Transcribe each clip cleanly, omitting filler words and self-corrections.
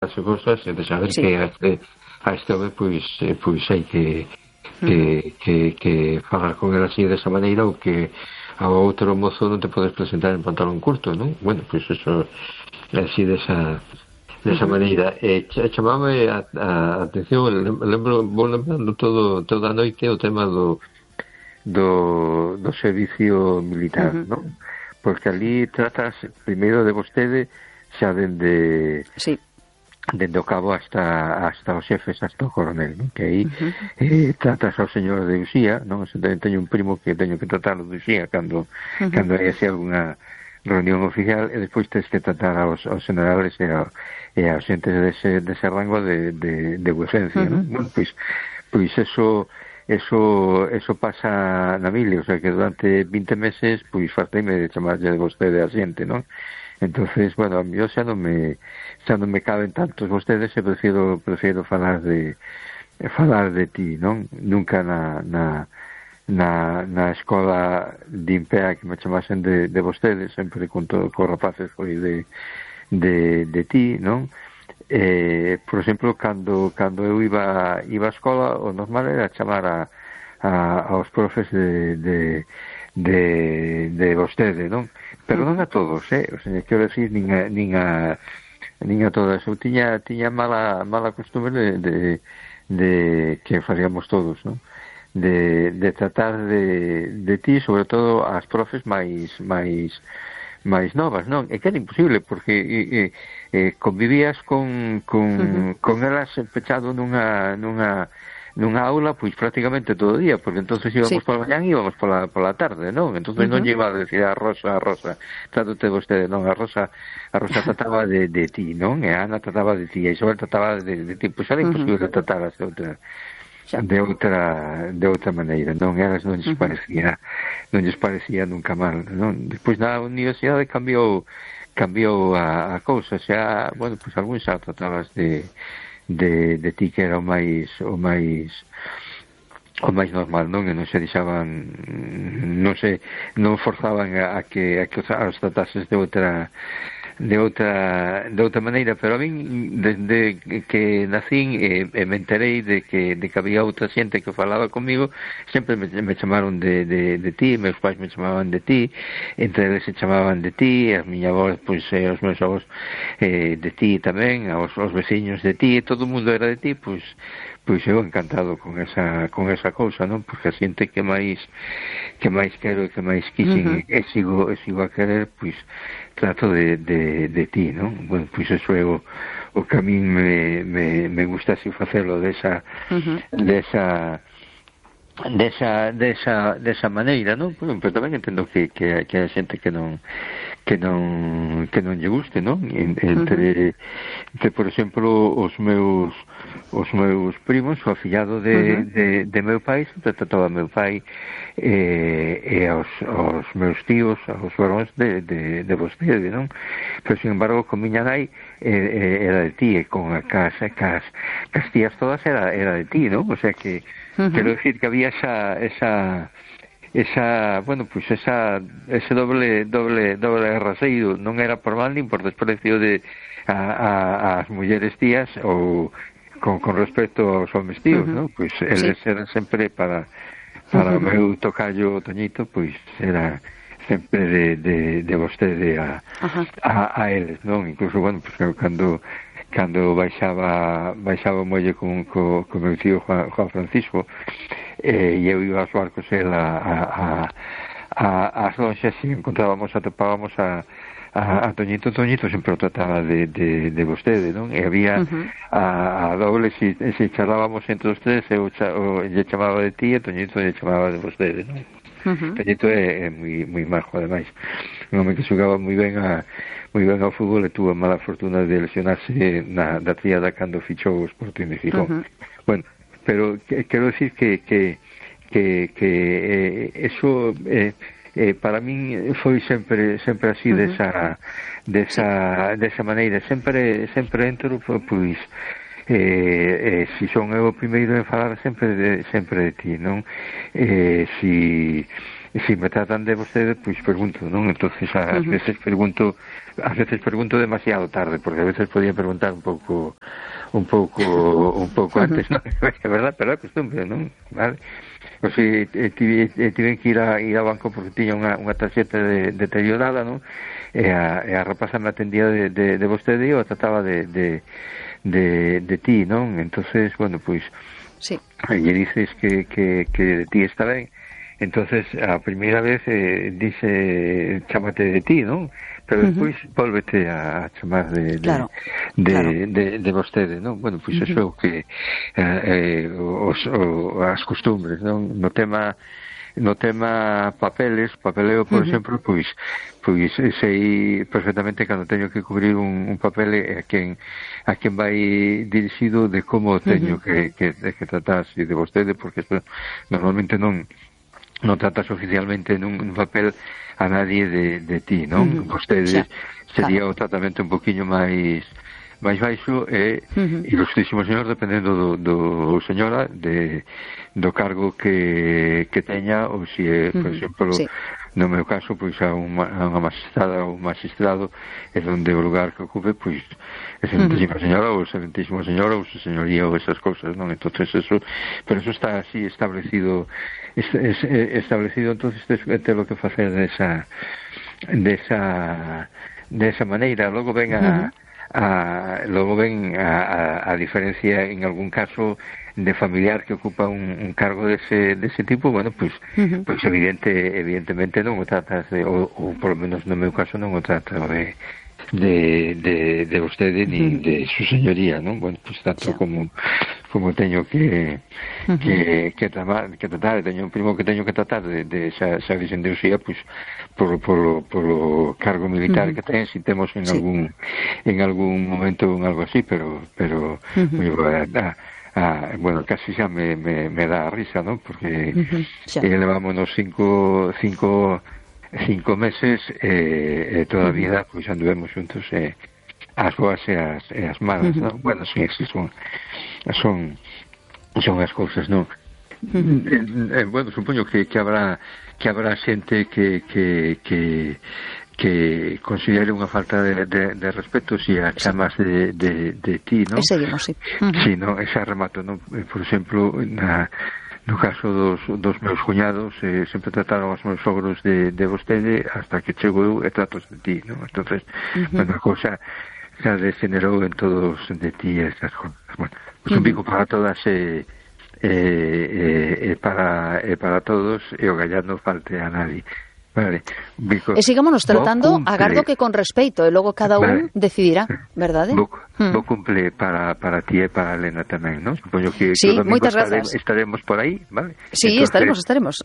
as cousas e de saber Sí. que a este home pois hai que falar con el así desa maneira, ou que ao outro mozo non te podes presentar en pantalón curto, non? Bueno, pois eso así desa maneira. Chamame a atención, vou lembrando toda a noite o tema do servicio militar, non? Porque ali tratas primeiro de vostede xa dende o cabo hasta os xefes, hasta o coronel, non? Que aí tratas ao señor de Uxía, non? Tamén teño un primo que teño que tratarlo de Uxía cando hai así alguna reunión oficial, e despois tens que tratar aos generales e aos xentes dese rango de vuecencia, non? Bueno, pois eso pasa na mili, o sea que durante 20 meses pois farteime de chamarlle de vostede a xente, non? Entonces, bueno, yo xa non me caben tantos vostedes, e prefiro falar de ti, non? Nunca na escola de Impea que me chamasen de vostedes, sempre con rapaces foi de ti, non? Por exemplo, cando eu iba á escola, o normal era chamar aos profes de vostede, non? Pero non a todos, o sea, quero decir, nin a todas. Eu tiña mala costumbre de que faríamos todos, non? De tratar de ti, sobre todo as profes máis novas, non? E que era imposible, porque convivías con elas pechado nunha aula, pois prácticamente todo o día, porque entonces íbamos pola mañán e íbamos pola tarde, non? Entonces non lle iba a decir a Rosa, trátate vostede, non? A Rosa trataba de ti, non? E a Ana trataba de ti, e Isabel trataba de ti, pois era imposible tratar de outra maneira, non? Elas non lles parecía nunca mal, non? Despois na universidade cambiou a cousa, xa, bueno, pois algún xa tratabas de ti, que era o máis normal, non? E non se deixaban, non forzaban a que os tratases de outra maneira, pero a min desde que nacín me enterei de que había outra xente que falaba comigo, sempre me chamaron de ti, meus pais me chamaban de ti, entre eles se chamaban de ti, as miña avós, pois os meus avós de ti tamén, os veciños de ti, todo o mundo era de ti, pois eu encantado con esa cousa, non? Porque a xente que máis quero e que máis quixen e sigo a querer, pois trato de ti, non? Bueno, pois eso é o que a min me gusta así facelo desa maneira, non? Pero tamén entendo que hai xente que non lle guste, non? Entre por exemplo, os meus primos, o afillado de meu pai, sempre trataba meu pai e aos meus tíos, aos varóns de vostede, non? Pero, sin embargo, con miña nai era de ti, e con cas tías todas era de ti, non? O sea que quero decir que había esa bueno, pues ese doble raseiro, non era por mal nin por desprecio de as mulleres tías ou con respecto aos homes tíos, non? Pois eles eran sempre para o meu tocayo Toñito, pois era sempre de vostede a eles, non? Incluso, bueno, pues cando baixaba o molle con meu tío Juan Francisco, e eu iba aos barcos, as lonxas, e atopábamos a Toñito sempre o trataba de vostede, non? E había a doble, se charlábamos entre os tres, eu lle chamaba de ti e Toñito lle chamaba de vostede, non? Toñito é moi majo, ademais, un home que xogaba moi ben ao fútbol, e tuvo a mala fortuna de lesionarse da tríada cando fichou o Sporting de Gijón. Bueno, pero quero decir que eso para min foi sempre así desa maneira, sempre entro, pois se son eu o primeiro en falar sempre de ti, non? si me tratan de vostede, pois pregunto, non? Entonces ás veces pregunto demasiado tarde, porque a veces podía preguntar un pouco antes, non? É verdad, pero é costumbre, non? Vale? O sea, tiven que ir ao banco porque tiña unha tarxeta deteriorada, non? E a rapaza me atendía de vostede e eu trataba de ti, non? Entonces, bueno, pois sí. lle dices que de ti está ben. Entonces, a primeira vez dice chámate de ti, non? Pero despois volvete a chamar de vostede, non? Bueno, pois eso é o que as costumbres, non? No tema papeleo, por exemplo, pois sei perfectamente cando teño que cubrir un papel a quen vai dirixido de como teño que tratar de vostede, porque eso normalmente non tratas oficialmente nun papel a nadie de ti, non? Vostede sería o tratamento un poquinho máis baixo e ilustrísimo señor, dependendo do señora do cargo que teña, ou se é, por exemplo, no meu caso, pois a unha magistrada ou un magistrado é onde o lugar que ocupe, pois excelentísima señora ou excelentísimo señor ou su señoría ou esas cousas, non? Entonces eso, pero eso está así establecido, entonces te lo que facer desa maneira. Logo ven a diferencia en algún caso de familiar que ocupa un cargo dese tipo, bueno, pois evidentemente non o tratas ou por lo menos no meu caso non o trato de vostede ni de su señoría, non? Bueno, pois tanto como teño que tratar, teño un primo que teño que tratar de xa dicen de usía, pois polo cargo militar que ten, si temos en algún momento en algo así, pero bueno, casi xa me dá a risa, non? Porque levámonos cinco meses e toda a vida pois anduvemos juntos, as boas e as malas, non? Bueno, sí, son as cousas, non? Bueno, supoño que habrá xente que considere unha falta de respeto se a chamas de ti, non? E seguimos, sí. Sí, non, esa remato, non? Por exemplo, no caso dos meus cuñados, sempre trataron os meus sogros de vostede hasta que chego eu e tratos de ti, non? Entonces, unha cousa xa degenerou en todos de ti esas cosas. Bueno, pues un pico para todas para todos e o gallán non falte a nadie. Vale, e sigámonos tratando, agardo que con respeito e logo cada un decidirá, verdade? Bo cumple para ti e para Elena tamén, non? Supoño que sí, moitas grazas. Estaremos por aí, vale? Sí, entonces... estaremos.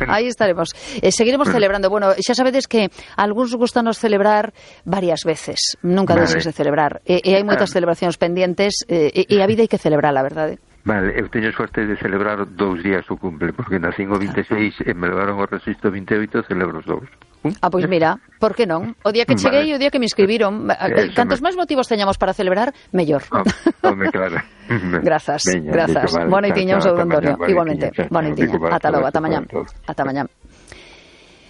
Aí estaremos. Seguiremos celebrando. Bueno, xa sabedes que algúns gustanos celebrar varias veces, nunca deixes de celebrar. E hai moitas celebracións pendientes e a vida hai que celebrar, a verdade. Vale, eu teño sorte de celebrar 2 días o cumple, porque nacín o 26 e me levaron o registro 28 e celebro os 2. Pois mira, por que non? O día que cheguei e o día que me inscribiron, cantos máis motivos teñamos para celebrar, mellor. Claro. Grazas. Boa noitiña, un saúdo, Antonio. Igualmente, boa noitiña. Ata logo, ata mañá.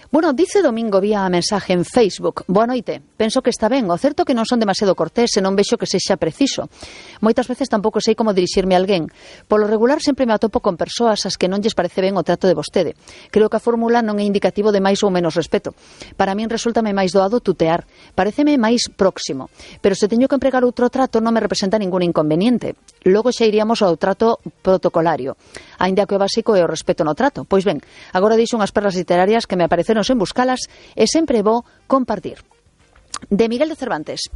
Bueno, dice Domingo vía mensaje en Facebook: boa noite, penso que está ben, o certo que non son demasiado cortés e non vexo que sexa preciso. Moitas veces tampouco sei como dirixirme a alguén. Polo regular sempre me atopo con persoas ás que non lles parece ben o trato de vostede. Creo que a fórmula non é indicativo de máis ou menos respeto. Para min resúltame máis doado tutear, pareceme máis próximo, pero se teño que empregar outro trato non me representa ningún inconveniente. Logo xa iríamos ao trato protocolario, aínda que o básico é o respeto no trato. Pois ben, agora dixo unhas perlas literarias que me apareceron en buscalas e sempre vou compartir. De Miguel de Cervantes: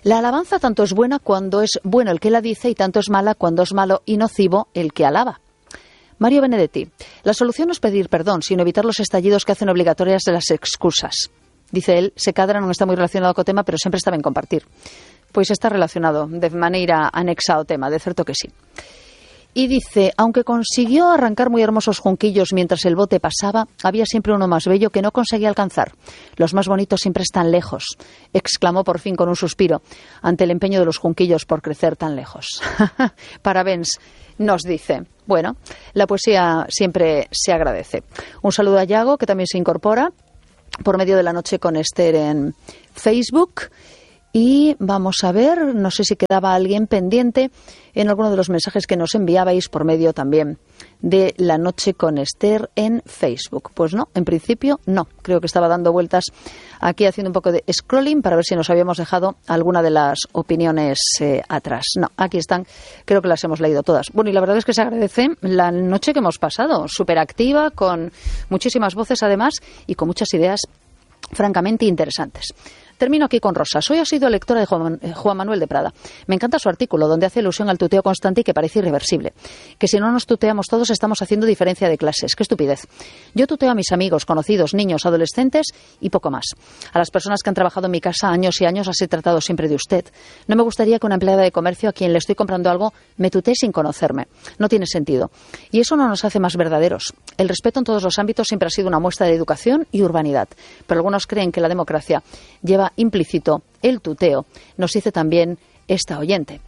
la alabanza tanto es buena cuando es bueno el que la dice y tanto es mala cuando es malo y nocivo el que alaba. Mario Benedetti: la solución no es pedir perdón, sino evitar los estallidos que hacen obligatorias de las excusas. Dice él, se cadra non está moi relacionado co tema, pero sempre está ben compartir. Pois está relacionado de maneira anexa ao tema, de certo que sí. Y dice, aunque consiguió arrancar muy hermosos junquillos mientras el bote pasaba, había siempre uno más bello que no conseguía alcanzar. Los más bonitos siempre están lejos, exclamó por fin con un suspiro, ante el empeño de los junquillos por crecer tan lejos. Parabéns, nos dice. Bueno, la poesía siempre se agradece. Un saludo a Yago, que también se incorpora por medio de La Noche con Esther en Facebook. Y vamos a ver, no sé si quedaba alguien pendiente en alguno de los mensajes que nos enviabais por medio también de La Noche con Esther en Facebook. Pues no, en principio no. Creo que estaba dando vueltas aquí haciendo un poco de scrolling para ver si nos habíamos dejado alguna de las opiniones atrás. No, aquí están, creo que las hemos leído todas. Bueno, y la verdad es que se agradece la noche que hemos pasado, súper activa, con muchísimas voces además y con muchas ideas francamente interesantes. Termino aquí con Rosa. Hoy ha sido lectora de Juan Manuel de Prada. Me encanta su artículo, donde hace alusión al tuteo constante y que parece irreversible. Que si no nos tuteamos todos estamos haciendo diferencia de clases. ¡Qué estupidez! Yo tuteo a mis amigos, conocidos, niños, adolescentes y poco más. A las personas que han trabajado en mi casa años y años las he tratado siempre de usted. No me gustaría que una empleada de comercio a quien le estoy comprando algo me tutee sin conocerme. No tiene sentido. Y eso no nos hace más verdaderos. El respeto en todos los ámbitos siempre ha sido una muestra de educación y urbanidad. Pero algunos creen que la democracia lleva implícito el tuteo, nos dice también esta oyente.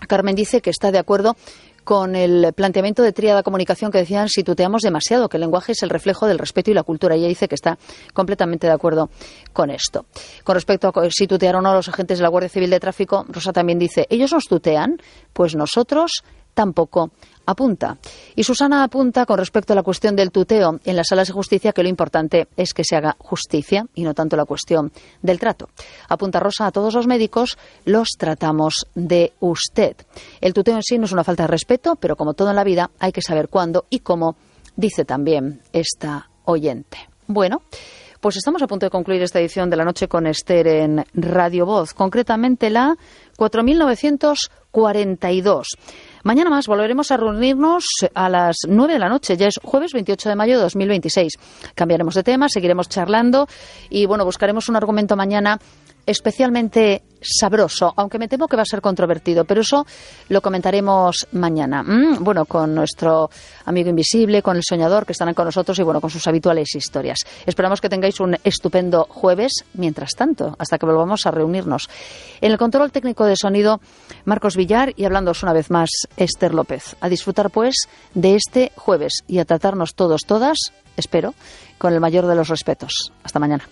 Carmen dice que está de acuerdo con el planteamiento de tríada comunicación que decían si tuteamos demasiado, que el lenguaje es el reflejo del respeto y la cultura. Ella dice que está completamente de acuerdo con esto. Con respecto a si tutearon o no los agentes de la Guardia Civil de Tráfico, Rosa también dice, ¿ellos nos tutean? Pues nosotros tampoco. Apunta. Y Susana apunta con respecto a la cuestión del tuteo en las salas de justicia que lo importante es que se haga justicia y no tanto la cuestión del trato. Apunta Rosa, a todos los médicos los tratamos de usted. El tuteo en sí no es una falta de respeto, pero como todo en la vida hay que saber cuándo y cómo, dice también esta oyente. Bueno, pues estamos a punto de concluir esta edición de La Noche con Esther en Radio Voz, concretamente la 4942. Mañana más volveremos a reunirnos a las 9 de la noche, ya es jueves 28 de mayo de 2026. Cambiaremos de tema, seguiremos charlando y bueno, buscaremos un argumento mañana especialmente sabroso, aunque me temo que va a ser controvertido, pero eso lo comentaremos mañana. Bueno, con nuestro amigo invisible, con el soñador, que estarán con nosotros y bueno, con sus habituales historias. Esperamos que tengáis un estupendo jueves, mientras tanto, hasta que volvamos a reunirnos. En el control técnico de sonido, Marcos Villar, y hablándoos una vez más, Esther López. A disfrutar, pues, de este jueves y a tratarnos todos, todas, espero, con el mayor de los respetos. Hasta mañana.